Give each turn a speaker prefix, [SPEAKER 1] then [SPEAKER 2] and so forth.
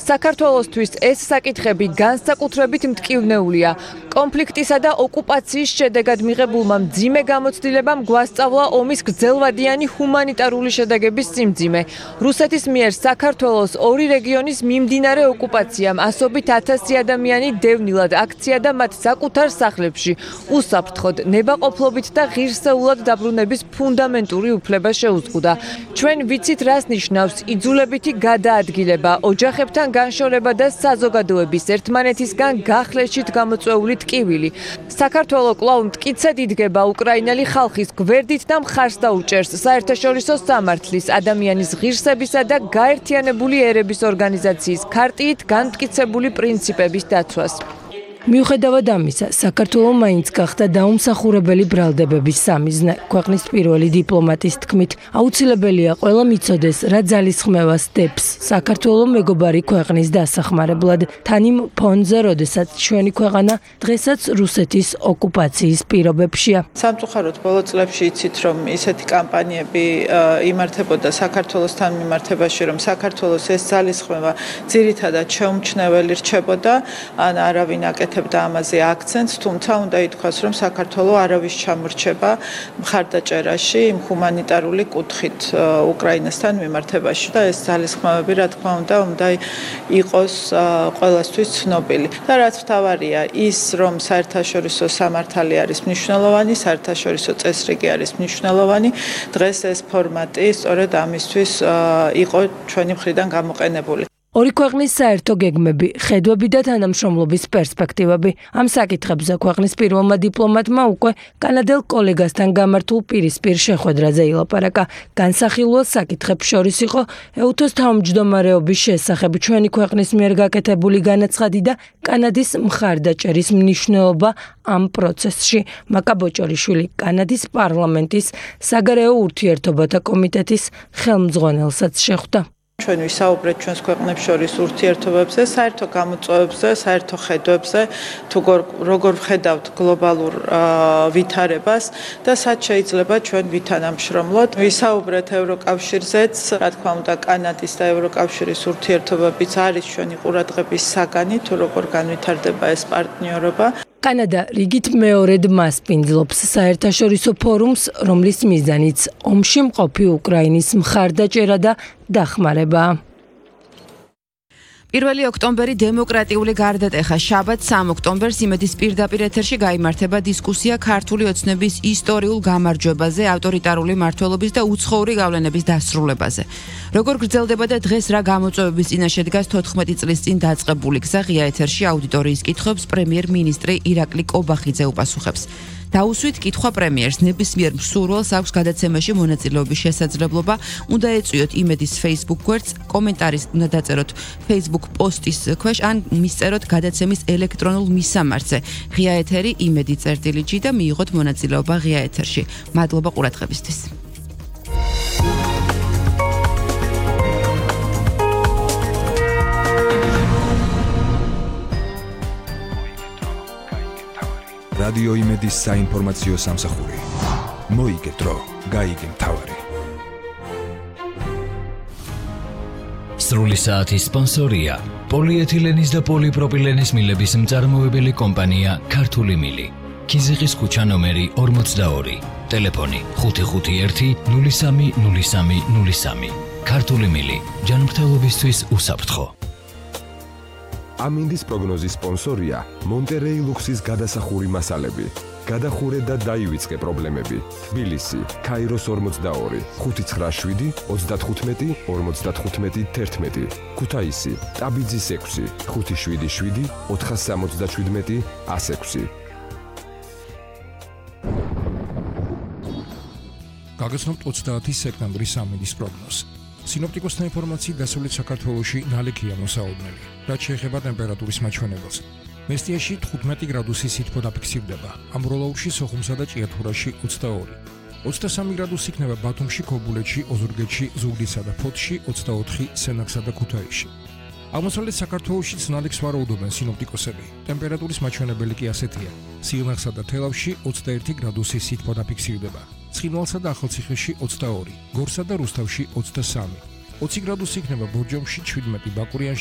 [SPEAKER 1] საქართველოსთვის ეს საკითხები განსაკუთრებით მტკივნეულია. კონფლიქტისა და ოკუპაციის შედეგად მიღებულმა მძიმე გამოცდილებამ გვასწავლა ომის გრძელვადიანი ჰუმანიტარული შედეგების სიმძიმე. რუსეთის მიერ საქართველოს ორი რეგიონის მიმდინარე ოკუპაციამ ასობით 1000 ადამიანი დევნილად აქცია და მათ საკუთარ სახლებში უსაფრთხოდ, ნებაყოფლობით და ღირსეულად დაბრუნების ფუნდამენტური უფლება შეუზღუდა. ჩვენ ვიცით, რას ნიშნავს იძულებითი გადაადგილება, ოჯახებთან განშორება და საზოგადოების ერთმანეთისგან გახლეშით გამოწვეული ტკივილი. საქართველო კვლავ მტკიცედ იდგება უკრაინელი ხალხის გვერდით და მხარს დაუჭერს საერთაშორისო სამართლის, ადამიანის ღირსებისა და გაერთიანებული ერების ორგანიზაციის ქარტიით განმტკიცებული პრინციპების დაცვას.
[SPEAKER 2] მიუხედავად ამისა, საქართველო მაინც გახდა დაუმსახურებელი ბრალდებების სამიზნე. ქვეყნის პირველი დიპლომატის თქმით, აუცილებელია ყველა მიცოდეს, რა ძალისხმევას დებს საქართველო მეგობარი ქვეყნის დასახმარებლად, თანიმ ფონზე, როდესაც ჩვენი ქვეყანა დღესაც რუსეთის ოკუპაციის პირობებშია.
[SPEAKER 3] სამწუხაროდ ბოლო წლებში იცით, რომ ისეთი კამპანიები იმართებოდა საქართველოსთან მიმართებაში, რომ საქართველოს ეს ძალისხმევა ძირითადად შეუმჩნეველი რჩებოდა, ან არავინ აკეთებდა ამაზე აქცენტს, თუმცა უნდა ითქვას, რომ საქართველო არავის ჩამორჩება მხარდაჭერაში იმ ჰუმანიტარული კუთხით უკრაინასთან მიმართებაში და ეს ძალისხმევები, რა თქმა უნდა იყოს ყველასთვის ცნობილი. და რაც მთავარია, ის რომ საერთაშორისო სამართალი არის მნიშვნელოვანი, საერთაშორისო წესრიგი არის მნიშვნელოვანი, დღეს ეს ფორმატი სწორედ ამისთვის იყო ჩვენი მხრიდან გამოყენებული.
[SPEAKER 2] ორი ქვეყნის საერთო გეგმები, ხედვები და თანამშრომლობის პერსპექტივები. ამ საკითხებზე ქვეყნის პირველმა დიპლომატმა უკვე კანადელ კოლეგასთან გამართულ პირისპირ შეხვედრაზე ილაპარაკა. განსახილველ საკითხებს შორის იყო ეუთოს თავმჯდომარეობის შესახებ ჩვენი ქვეყნის მიერ გაკეთებული განაცხადი და კანადის მხარდაჭერის მნიშვნელობა ამ პროცესში. მაკა ბოჭორიშვილი კანადის პარლამენტის საგარეო ურთიერთობათა კომიტეტის ხელმძღვანელსაც შეხვდა.
[SPEAKER 3] ჩვენ ვისაუბრეთ ჩვენს ქვეყნებს შორის ურთიერთობებზე, საერთო გამოწვევებზე, საერთო ხედვებზე, თუ როგორ ვხედავთ გლობალურ ვითარებას და სად შეიძლება ჩვენ ვითანამშრომლოთ. ვისაუბრეთ ევროკავშირზეც, რა თქმა უნდა, კანადის და ევროკავშირის ურთიერთობებიც არის ჩვენი ყურადღების საგანი, თუ როგორ განვითარდება ეს პარტნიორობა.
[SPEAKER 2] კანადა რიგით მეორედ მასპინძლობს საერთაშორისო ფორუმს, რომლის მიზანიც ომში მყოფი უკრაინის მხარდაჭერა და დახმარებაა.
[SPEAKER 4] 1 ოქტომბერი დემოკრატიული გარდატეხა. შაბათს 3 ოქტომბერს იმედის პირდაპირ ეთერში გაიმართება დისკუსია ქართული ოცნების ისტორიულ გამარჯვებაზე, ავტორიტარული მმართველობის და უცხოური გავლენების დასრულებაზე. როგორ გრძელდება და დღეს რა გამოწვევების წინაშე დგას 14 წლის წინ დაწყებული გზა, ღია ეთერში აუდიტორიის კითხვებს პრემიერ-მინისტრი ირაკლი კობახიძე უპასუხებს. დაუსვით კითხვა პრემიერს, ნებისმიერ მსურველს აქვს გადაცემაში მონაწილეობის შესაძლებლობა, უნდა ეწვიოთ იმედის Facebook გვერდს, კომენტარის უნდა დაწეროთ Facebook პოსტის ქვეშ ან მისწეროთ გადაცემის ელექტრონულ მისამართზე. ღია ეთერი იმედი.g და მიიღოთ მონაწილეობა ღია ეთერში. მადლობა ყურადღებისთვის.
[SPEAKER 5] რადიო იმედის საინფორმაციო სამსახური. მოიგეთ დრო, გაიგე მთავარი.
[SPEAKER 6] სრული საათის სპონსორია პოლიეთილენის და პოლიპროპილენის მილების მწარმოებელი კომპანია ქართული მილი. ქიზიყის ქუჩა ნომერი 42. ტელეფონი 551 03 03 03. ქართული მილი. ჯანმრთელობისთვის უსაფრთხო.
[SPEAKER 7] ამინდის პროგნოზის სპონსორია მონტერეი ლუქსის გადასახური მასალები. გადახურე და დაივიწყე პრობლემები. თბილისი, ქაიროს 42, 597, 35, 55, 11. ქუთაისი, ტაბიძის 6, 577, 467, 106.
[SPEAKER 8] გაგაცნობთ 30 სექტემბრის ამინდის პროგნოზს. სინოპტიკოსთა ინფორმაციით დასავლეთ საქართველოში ნალექია მოსაოდნელი. რაც შეეხება ტემპერატურის მაჩვენებელს. მესტიაში 15 გრადუსი სითბო დაფიქსირდება. ამბროლაურში, სოხუმსა და ჭიათურაში 22. 23 გრადუსი იქნება ბათუმში, ქობულეთში, ოზურგეთში, ზუგდიდსა და ფოთში, 24 სენაკსა და ქუთაისში. აღმოსავლეთ საქართველოშიც ნალექს ვარაუდობენ სინოპტიკოსები. ტემპერატურის მაჩვენებელი კი ასეთია. სიღნაღსა და თელავში 21 გრადუსი სითბო დაფიქსირდება. ცხინვალსა და ახალციხეში 22, გორსა და რუსთავში 23. 20 გრადუსი იქნება ბორჯომში, 17 ბაკურიანში